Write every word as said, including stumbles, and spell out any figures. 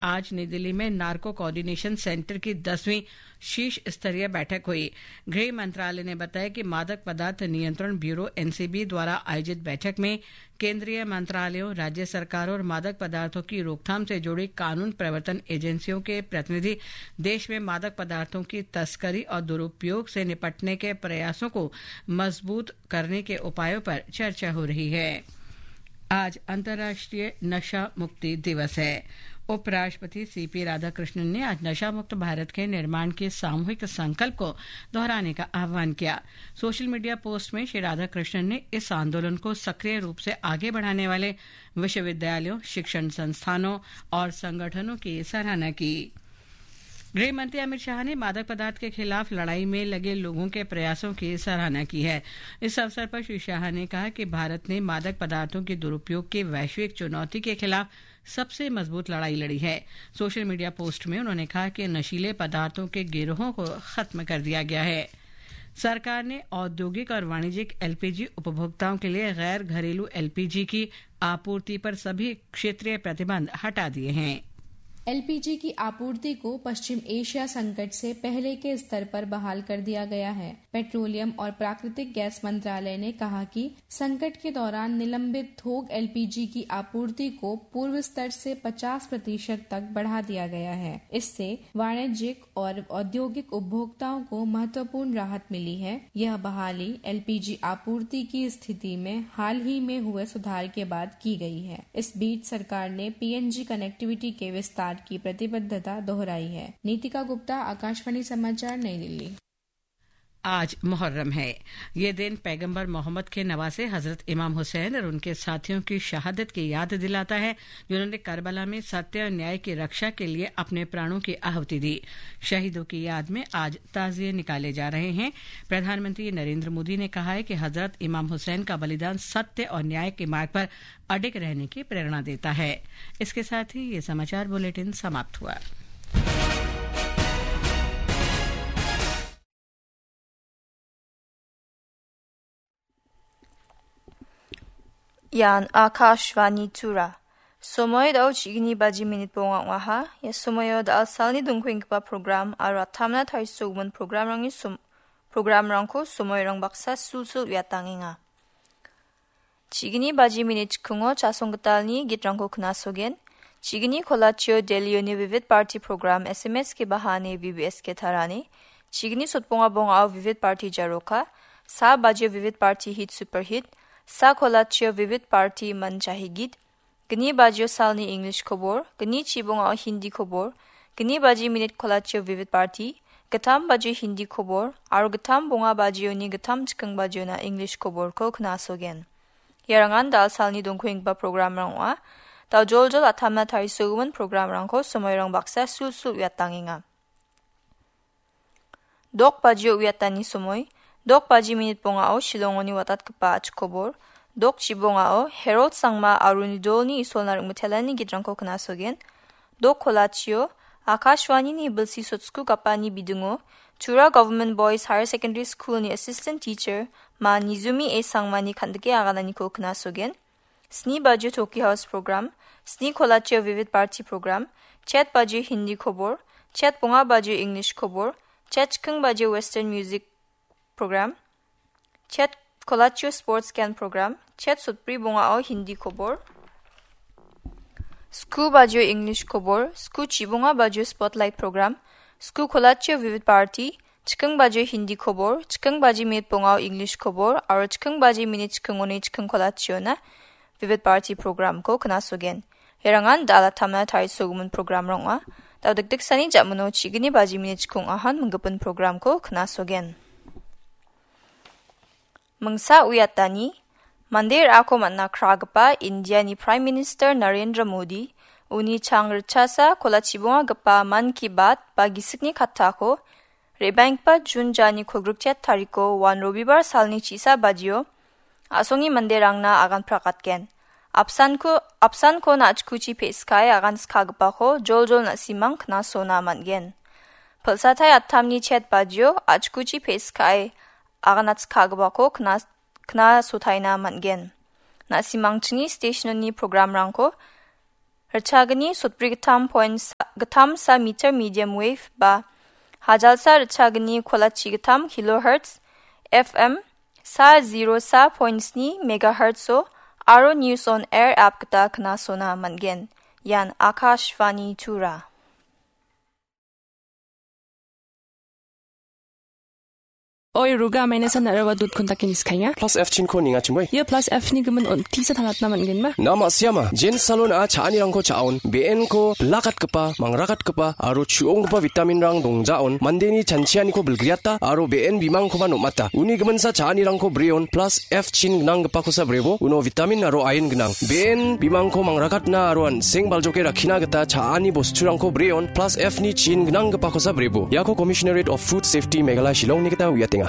आज नई दिल्ली में नार्को कोऑर्डिनेशन सेंटर की दसवीं शीर्ष स्तरीय बैठक हुई। गृह मंत्रालय ने बताया कि मादक पदार्थ नियंत्रण ब्यूरो, एनसीबी, द्वारा आयोजित बैठक में केंद्रीय मंत्रालयों, राज्य सरकारों और मादक पदार्थों की रोकथाम से जुड़ी कानून प्रवर्तन एजेंसियों के प्रतिनिधि देश में मादक पदार्थों की तस्करी और दुरुपयोग से निपटने के प्रयासों को मजबूत करने के उपायों पर चर्चा हो रही है। आज अंतर्राष्ट्रीय नशा मुक्ति दिवस है। उपराष्ट्रपति सीपी राधाकृष्णन ने आज नशा मुक्त भारत के निर्माण के सामूहिक संकल्प को दोहराने का आह्वान किया। सोशल मीडिया पोस्ट में श्री राधाकृष्णन ने इस आंदोलन को सक्रिय रूप से आगे बढ़ाने वाले विश्वविद्यालयों, शिक्षण संस्थानों और संगठनों की सराहना की। गृह मंत्री अमित शाह ने मादक पदार्थ के खिलाफ लड़ाई में लगे लोगों के प्रयासों की सराहना की है। इस अवसर पर श्री शाह ने कहा कि भारत ने मादक पदार्थों के दुरुपयोग के वैश्विक चुनौती के खिलाफ सबसे मजबूत लड़ाई लड़ी है। सोशल मीडिया पोस्ट में उन्होंने कहा कि नशीले पदार्थों के गिरोहों को खत्म कर दिया गया है। सरकार ने औद्योगिक और वाणिज्यिक एलपीजी उपभोक्ताओं के लिए गैर घरेलू एलपीजी की आपूर्ति पर सभी क्षेत्रीय प्रतिबंध हटा दिए हैं। एलपीजी की आपूर्ति को पश्चिम एशिया संकट से पहले के स्तर पर बहाल कर दिया गया है। पेट्रोलियम और प्राकृतिक गैस मंत्रालय ने कहा कि संकट के दौरान निलंबित थोक एलपीजी की आपूर्ति को पूर्व स्तर से पचास प्रतिशत तक बढ़ा दिया गया है। इससे वाणिज्यिक और औद्योगिक उपभोक्ताओं को महत्वपूर्ण राहत मिली है। यह बहाली एलपीजी आपूर्ति की स्थिति में हाल ही में हुए सुधार के बाद की गई है। इस बीच सरकार ने पीएनजी कनेक्टिविटी के विस्तार की प्रतिबद्धता दोहराई है। नीतिका गुप्ता, आकाशवाणी समाचार, नई दिल्ली। आज मुहर्रम है। ये दिन पैगंबर मोहम्मद के नवासे हजरत इमाम हुसैन और उनके साथियों की शहादत की याद दिलाता है, जिन्होंने करबला में सत्य और न्याय की रक्षा के लिए अपने प्राणों की आहुति दी। शहीदों की याद में आज ताजिए निकाले जा रहे हैं। प्रधानमंत्री नरेंद्र मोदी ने कहा है कि हजरत इमाम हुसैन का बलिदान सत्य और न्याय के मार्ग पर अडिग रहने की प्रेरणा देता है। इसके साथ ही ये समाचार बुलेटिन समाप्त हुआ। Ian Akashvani Tura. Somoi dao chigni baji minit bonga ong·aha. Ia somoio dal salni dongkoenggipa program aro atamna tarisogimin programrangni som-, programrangko somoirang baksa sulsul uiatangenga. Chigni baji minit chikungo chasong gitalni gitrangko knasogen. Chigni kolachio Delhioni Vivid Bharati program S M S ke bahane V B S ke tarane. Chigni sotbonga bongao Vivid Bharati jaroka. Sa bajio Vivid Bharati hit super hit. Sa kolachio Vivid Bharati manchahi git. Gni bajio salni English kobor, gni chibongao Hindi kobor, gni baji minit kolachio Vivid Bharati, gittam bajio Hindi kobor, aro gittam bonga bajioni gittam chiking bajiona English koborko knasogen. Iarangan dal salni dongkoenggipa programrang ong·a. Dal joljol atamna tarisogimin programrangko somoirang baksa sulsul uiatangenga. Dok bajio uiatani somoi, dok baji minit bongao Shillongoni watatgipa achikobor, dok chibongao Herod Sangma aro uni dolni isolna ringmitelani gitrangko knasogen, dok kolachio Akashvanini bilsi sotsku gapani bidingo Tura Government Boys Higher Secondary Schoolni Assistant Teacher Ma Nizumi A Sangmani kandike agananiko knasogen, Sni bajio Toki House program, sni kolachio Vivid Bharati program, chet bajio Hindi kobor, chet bonga bajio English kobor, chet chiking bajio Western music program, chet kolachio sports can program, chet sotbri bongao Hindi kobor, sku bajio English kobor, sku chibonga bajio spotlight program, sku kolachio Vivid Bharati, chiking baji Hindi kobor, chiking baji minit bongao English kobor, aro chiking baji minit chikingoni chiking kolachiona Vivid Bharati programko knasogen. Iarangan dal atamna tarisogimin programrang ong·a. Dal dikdiksani jamino chigni baji minit chikung ahan minggipin programko knasogen. Mingsa uiatani, mande ra·ako man·a kragipa Indiani Prime Minister Narendra Modi, uni chang ritchasa kolachibongagipa Mann Ki Baat ba gisikni kattako, re·baenggipa Jun jani kolgrikchet tariko wan Robibar salni chisa bajio, a·songni manderangna agan prakatgen. Apsanko, apsanko na·chikuchi pe·skae agan skagipako joljol na·simang knasona man·gen. Pilsatai atamni chet bajio a·chikuchi pe·skae aganatskagipako kna-, knasotaina man·gen. Na·simangchini steshnoni programrangko ritchagni sotbri gittam point sa-, gittam sa meter medium wave ba hajalsa ritchagni kolachi gittam kilohertz F M sa zero sa point sni megahertz o aro News on Air app gita knasona man·gen. Ian Akashvani Tura. Oi, Ruga, maina san araba dot kontaki niskainga. Plus F chinko ninga chimoi. Ia plus F ni gimin on tisa tangatna man·genba. Na ma·siama, Jane Salon a cha·anirangko cha·on, be·enko bilakatgipa, mangrakatgipa, aro chu·onggipa vitaminrang dongjaon, mandeni chanchianiko bilgriata, aro be·en bimangkoba nom·ata. Uni giminsa cha·anirangko breon, plus F chin gnanggipakosa brebo, uno vitamin aro iron gnang. Be·en bimangko mangrakatna aro an·seng baljoke rakkina gita cha·ani bosturangko breon, plus F ni chin gnanggipakosa brebo. Iako Commissionerate of Food Safety Meghalaya Shillongni gita uiatenga.